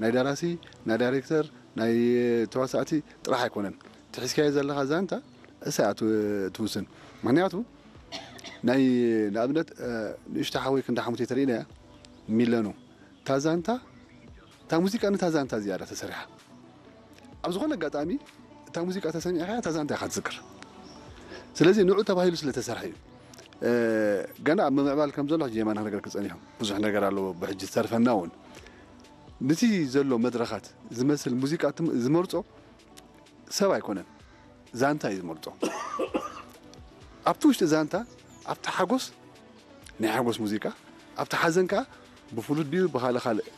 ናይ ደራሲ፣ ናይ ዳይሬክተር፣ ናይ ተዋሳእቲ ጥራሕ ኣይኮነን። ትሒዝካዮ ዘለኻ ዛንታ እሳ እያ ትው- ትውስን። ምኽንያቱ ናይ ንኣብነት ንእሽቶ ሓወይ ክንዲ ሓሙቴ ተርእይና እያ ሚለኑ እታ ዛንታ እታ ሙዚቃ ነታ ዛንታ ዝያዳ ተሰሪሓ። ኣብ ዝኾነ ኣጋጣሚ እታ ሙዚቃ ተሰሚዕካ እታ ዛንታ ኢኻ ትዝክር። ስለዚ ንዑ ተባሂሉ ስለ ተሰርሐ እዩ። ገና ኣብ ምምዕባል ከም ዘሎ ሕጂ የማና ክነገር ክጸኒሑ ብዙሕ ነገር ኣለዎ። ብሕጂ ዝተርፈና እውን ነቲ ዘሎ መድረኻት ዝመስል ሙዚቃ ዝመርጾ ሰብ ኣይኮነን፣ ዛንታ እዩ ዝመርጾ። ኣብቲ ውሽጢ ዛንታ ኣብቲ ሓጎስ ናይ ሓጎስ ሙዚቃ፣ ኣብቲ ሓዘን ከኣ ብፍሉት ድዩ ብኻልእ ካልእ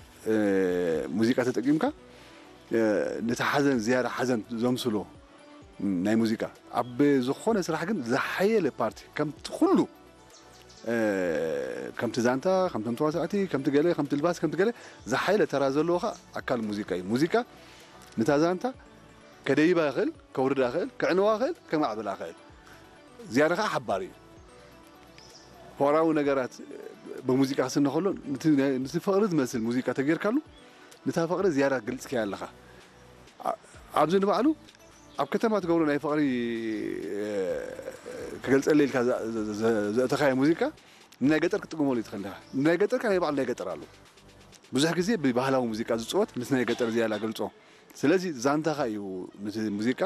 ሙዚቃ ተጠቂምካ ነቲ ሓዘን ዝያዳ ሓዘን ዘምስሎ ናይ ሙዚቃ ኣብ ዝኾነ ስራሕ ግን ዝሓየለ ፓርቲ ከምቲ ኩሉ ከምቲ ዛንታ ከምቶም ተዋሳእቲ ከምቲ ገለ ከምቲ ልባስ ከምቲ ገለ ዝሓየለ ተራ ዘለዎ ከዓ ኣካል ሙዚቃ እዩ። ሙዚቃ ነታ ዛንታ ከደይባ ይኽእል፣ ከውርዳ ይኽእል፣ ከዕንዋ ይኽእል፣ ከማዕብላ ይኽእል። ዝያዳ ከዓ ሓባሪ እዩ። ፍቕራዊ ነገራት ብሙዚቃ ክስነ ከሎ ነቲ ፍቕሪ ዝመስል ሙዚቃ ተጌርካሉ ነታ ፍቕሪ ዝያዳ ግልፅካያ ኣለኻ። ኣብዚ ንባዕሉ ኣብ ከተማ ትገብሮ ናይ ፍቕሪ ክገልፀለ ኢልካ ዘእተኻዮ ሙዚቃ ንናይ ገጠር ክትጥቅመሉ ትኽእል ኢኻ። ናይ ገጠር ከ ናይ ባዕሉ ናይ ገጠር ኣሎ። ብዙሕ ግዜ ብባህላዊ ሙዚቃ ዝፅወት ምስ ናይ ገጠር ዝያዳ ገልፆ። ስለዚ ዛንታኻ እዩ ነቲ ሙዚቃ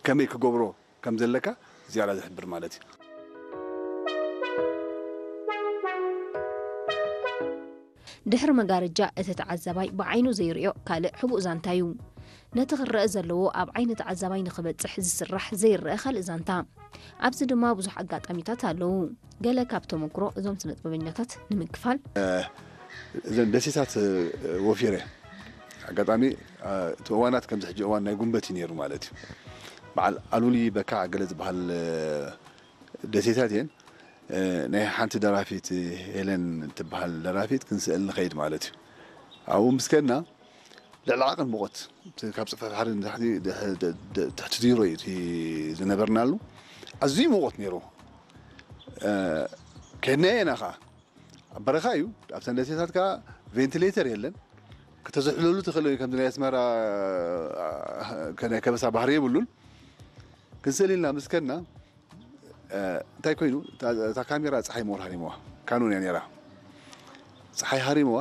ከመይ ክገብሮ ከም ዘለካ ዝያዳ ዝሕብር ማለት እዩ። ድሕሪ መጋረጃ እቲ ተዓዛባይ ብዓይኑ ዘይርእዮ ካልእ ሕቡእ ዛንታ እዩ። ነቲ ክረአ ዘለዎ ኣብ ዓይኒ ተዓዛባይ ንኽበጽሕ ዝስራሕ ዘይረአ ካልእ ዛንታ። ኣብዚ ድማ ብዙሕ ኣጋጣሚታት ኣለዉ። ገለ ካብ ተመክሮ እዞም ስነጥበበኛታት ንምክፋል። እዘን ደሴታት ወፊረ ኣጋጣሚ እቲ እዋናት ከምዚ ሕጂ እዋን ናይ ጉንበት እዩ ነይሩ ማለት እዩ። በዓል ኣሉሊ በካዕ ገለ ዝበሃል ደሴታት እየን። ናይ ሓንቲ ደራፊት ሄለን ትበሃል ደራፊት ክንስእል ንኸይድ ማለት እዩ። ኣብኡ ምስ ከድና ልዕሊ ዓቐን ሙቐት ካብ ፅፍሒ ባሕሪ ንታሕቲ ትሕቲ ዜሮ እዩ እቲ ዝነበርናሉ። ኣዝዩ ሙቐት ነይሩ። ከድናዮ ኢና ከዓ ኣብ በረኻ እዩ። ኣብተን ደሴታት ከዓ ቬንቲሌተር የለን። ከተዝሕለሉ ትኽእል ከምዚ ናይ ኣስመራ ናይ ከበሳ ባህሪ የብሉን። ክንስእል ኢልና ምስ ከድና እንታይ ኮይኑ እታ ካሜራ ፀሓይ ምወር ሃሪምዋ። ካኖን እያ ነይራ። ፀሓይ ሃሪምዋ።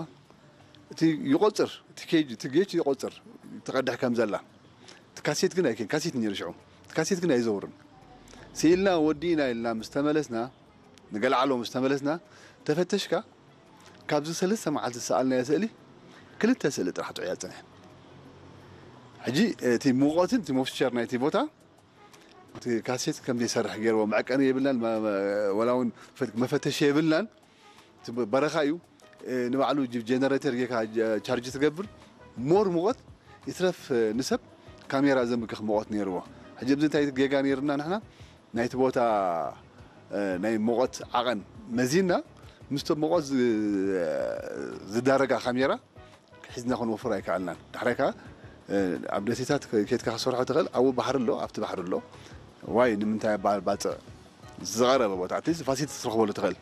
እቲ ይቆፅር እቲ ኬጅ እቲ ጌች ይቆፅር ትቐድሕ ከም ዘላ። እቲ ካሴት ግን ኣይከን ካሴት ነይሩ ሽዑ። እቲ ካሴት ግን ኣይዘውርን። ስኢልና ወዲእና ኢልና ምስ ተመለስና ንገለ ዓሎ ምስ ተመለስና ተፈተሽካ ካብዚ ሰለስተ መዓልቲ ዝሰኣልናዮ ስእሊ ክልተ ስእሊ ጥራሕ ጥዑያ ዝፀንሐን። ሕጂ እቲ ሙቐትን እቲ ሞስቸር ናይቲ ቦታ እቲ ካሴት ከም ዘይሰርሕ ገይርዎ መዐቀኒ የብልናን ወላ እውን መፈተሺ የብልናን። በረኻ እዩ። ንባዕሉ ጀነሬተር ጌካ ቻርጅ ትገብር ሞር ሙቐት ይትረፍ ንሰብ ካሜራ ዘምክኽ ሙቐት ነይርዎ። ሕጂ ኣብዚ እንታይ ጌጋ ነይርና ንሕና ናይቲ ቦታ ናይ ሙቐት ዓቐን መዚና ምስቶም ሙቐት ዝዳረጋ ካሜራ ሒዝና ክንወፍር ኣይከኣልናን። ዳሕራይ ከዓ ኣብ ደሴታት ኬድካ ክሰርሖ ትኽእል ኣብኡ ባሕሪ ኣሎ ኣብቲ ባሕሪ ኣሎ ዋይ ንምንታይ ባፅዕ ዝቐረበ ቦታ ኣትሊስት ፋሲሊቲ ትረኽበሉ ትኽእል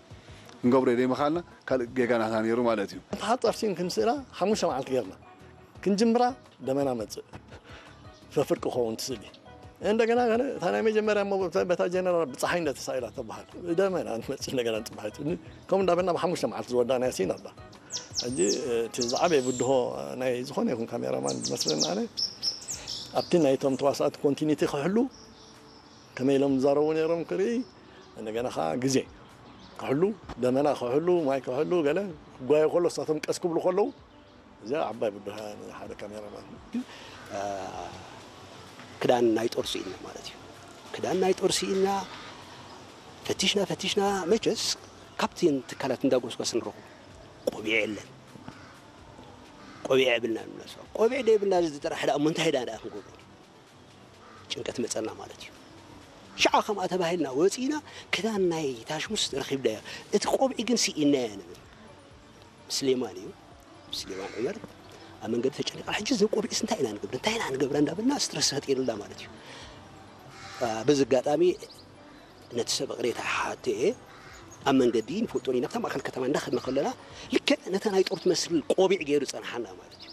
ክንገብሮ ዘይምኽኣልና ካልእ ጌጋ ናትና ነይሩ ማለት እዩ። ሓፃር ሲን ክንስእላ ሓሙሽተ መዓልቲ ጌርና ክንጅምራ ደመና መፅእ ፈፍር ክኸውን ትስእሊ እንደገና እታ ናይ መጀመርያ በታ ጀነራል ብፀሓይ እንደተሳኢላ ተበሃል ደመና ትመፅእ እንደገና ፅባሒት ከምኡ እንዳበልና ብሓሙሽተ መዓልቲ ዝወዳእናያ ሲን ኣላ። ሕጂ እቲ ዝዓበየ ብድሆ ናይ ዝኾነ ይኹን ካሜራማን ዝመስለኒ ኣነ ኣብቲ ናይቶም ተዋሳእቲ ኮንቲኒቲ ክሕሉ ከመይ ኢሎም ዝዛረቡ ነይሮም ክርኢ እንደገና ከዓ ግዜ ክሕሉ ደመና ክሕሉ ማይ ክሕሉ ገለ ክጓየ ከሎ እሳቶም ቀስ ክብሉ ከለዉ እዚኣ ዓባይ ብድሆ እያ ንሓደ ካሜራማን። ክዳን ናይ ጦር ስኢልና ማለት እዩ። ክዳን ናይ ጦር ስኢልና ፈቲሽና ፈቲሽና መቸስ ካብተን ትካላት እንዳጎስጓስ ንረኽቦ ቆቢዕ የለን። ቆቢዕ የብልና ንብላ ሰብ ቆቢዕ ደይብልና እዚ ጥራሕ ደኣ እሞ እንታይ ደኣ ደኣ ክንገብሮ ጭንቀት መጸና ማለት እዩ። ሽዓ ከምኣ ተባሂልና ወጺእና ክዳን ናይ ታሽሙስ ረኺብናዮ እቲ ቆብዒ ግን ስኢናዮ ንብል። ስሌማን እዩ ስሌማን ዑመር ኣብ መንገዲ ተጨኒቕና ሕጂ እዚ ቆቢዕስ እንታይ ኢና ንገብር እንታይ ኢና ንገብር እንዳበልና ስትረስ ፈጢርልና ማለት እዩ። በዚ ኣጋጣሚ ነቲ ሰብ እቕሬታ ሓትኤ ኣብ መንገዲ ንፈልጦ ኢና ኣብታ ማእከል ከተማ እንዳኸድና ከለና ልክዕ ነታ ናይ ጦር ትመስል ቆቢዕ ገይሩ ጸንሓና ማለት እዩ።